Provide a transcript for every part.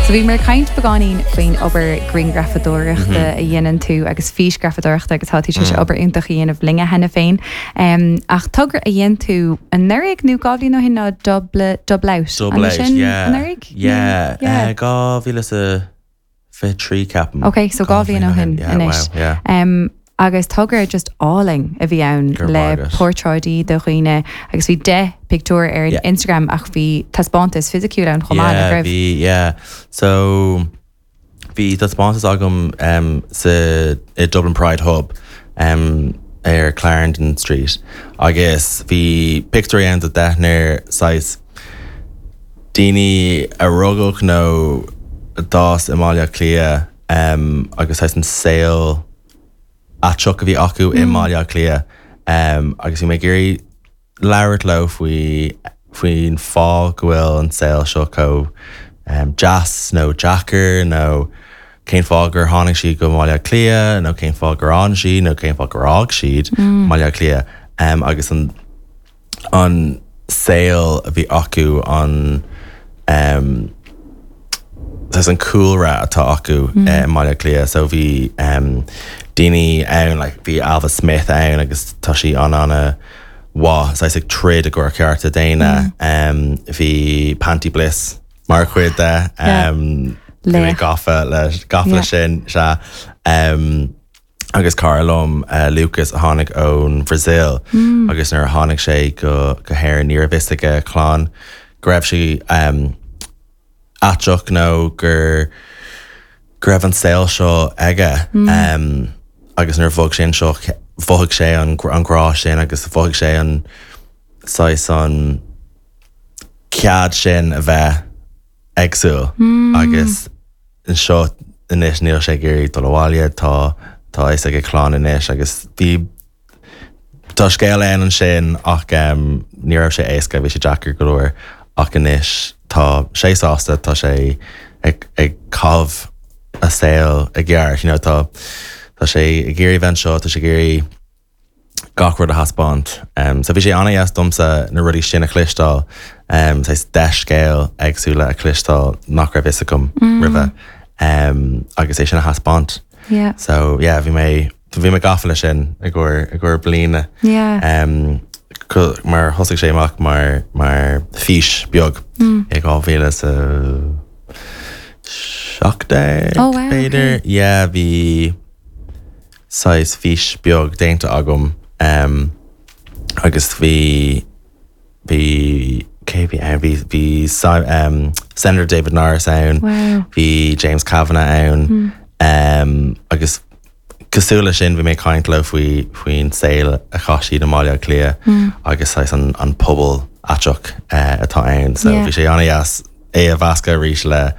So bhíomar ag caint beagáinín faoin obair grianghrafadóireachta a dhéanann tú agus físghrafadóireachta agus tá tú tar éis obair iontach a dhéanamh linne cheana féin. Ach togra a dhein tú anuraidh nó 2 bhliain ó shin ná Double, Double Out. Double An Out, sin yeah. anuraidh? Yeah, Yeah. 2023 ceapaim. Ok, so 2 bhliain ó shin Yeah, anois. wow, yeah. Agus togra just álainn a bhí ann Go raibh le maith agat. portráidí de dhaoine agus bhí 10 pictiúr ar Yeah. Instagram ach bhí taispeántas fisiciúil ann chomh maith, nach Yeah, raibh? bhí, yeah. So bhí taispeántas agam um, sa i Dublin Pride Hub um, ar Clarendon Street agus bhí pictiúirí ann de deichniúr saghas daoine a rugadh nó a d'fhás i mBaile Átha Cliath um, agus saghas an saol aiteach a bhí acu i mBaile Átha Cliath agus bhí mé ag iarraidh labhairt leo faoi faoin fáth go bhfuil an saol seo chomh deas nó deacair nó cén fáth gur tháinig siad go mBaile Átha Cliath nó cén fáth gur fhan siad nó cén fáth gur fhág siad Baile Átha Cliath agus an an saol a bhí acu, an saghas an cúlra atá acu i mBaile Átha Cliath. So bhí daoine ann, like bhí Ailbhe Smith ann agus tá sí an-an-mhaith saghas ag troid i gcomhair cearta daonna. Bhí Panti Bliss mar chuid de. Bhí mé gafa le gafa le sin, sea. Agus cara liom, Lucas, a tháinig ón Bhrasaíl agus nuair a tháinig sé go go hÉirinn ní raibh fhios ag a chlann go raibh sé aiteach nó gur go raibh an saol seo aige agus nuair a bhog sé anseo mhothaigh sé an an grá sin agus mhothaigh sé an saghas an cead sin a bheith éagsúil agus anseo anois níl sé ag iarraidh dul abhaile, tá tá a fhios ag a chlann anois agus bhí tá scéal ann ansin ach ní raibh sé éasca, bhí sé deacair go leor ach anois tá sé sásta, tá sé ag ag caitheamh a saol i gceart, you know, tá tá sé ag iarraidh bheith anseo, tá sé ag iarraidh gach rud a thaispeáint. So bhí sé an-dheas domsa na rudaí sin a chloisteáil, saghas 10 scéal éagsúla a chloisteáil nach raibh fhios agam roimhe agus é sin a thaispeáint. Yeah. So yeah, bhí mé bhí mé gafa leis sin i gcomhair i gcomhair bliana. Yeah. Mar thosaigh sé amach mar mar fís beag i 2017 Oh wow, b'fhéidir. okay. Yeah, bhí saghas fís beag déanta agam agus bhí, bhí, cé a bhí ann, bhí, bhí Senator David Norris ann, Wow. bhí James Kavanagh ann agus cosúil leis sin bhí mé ag caint leo faoi, faoin saol a chaith siad i mBaile Átha Cliath agus saghas an, an pobal aiteach atá ann. So Yeah. bhí sé an-dheas é a mheascadh arís le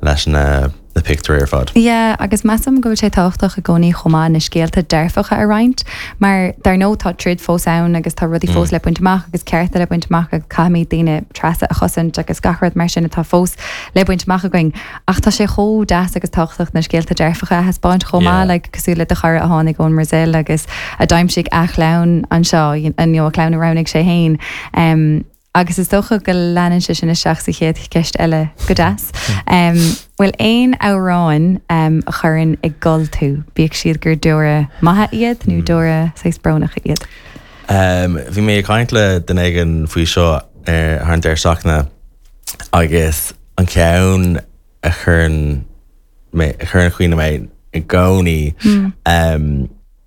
leis na na pictiúirí ar fad. Yeah, agus measaim go bhfuil sé tábhachtach i gcónaí chomh maith na scéalta dearfacha a roinnt, mar dar ndóigh tá troid fós ann agus tá rudaí fós le baint amach agus cearta le baint amach agus caithfimid daoine trasa a chosaint agus gach rud mar sin atá fós le baint amach againn. Ach tá sé chomh deas agus tábhachtach na scéalta dearfacha a thaispeáint chomh maith, Yeah. like cosúil le do chara a tháinig ón mBrasaíl agus a d'aimsigh a chlann anseo, you know, a chlann a roghnaigh sé féin. Um, Agus is dócha go leanann sé sin isteach sa chéad cheist eile go deas. Bhfuil aon amhráin a chuireann ag gol tú, bíodh siad gur deora maithe iad nó deora saghas brónacha iad? Bhí mé ag caint le duine éigin faoi seo ar thar an deireadh seachtaine agus an ceann a chuireann mé, a chuireann chun cuimhne mé i gcónaí.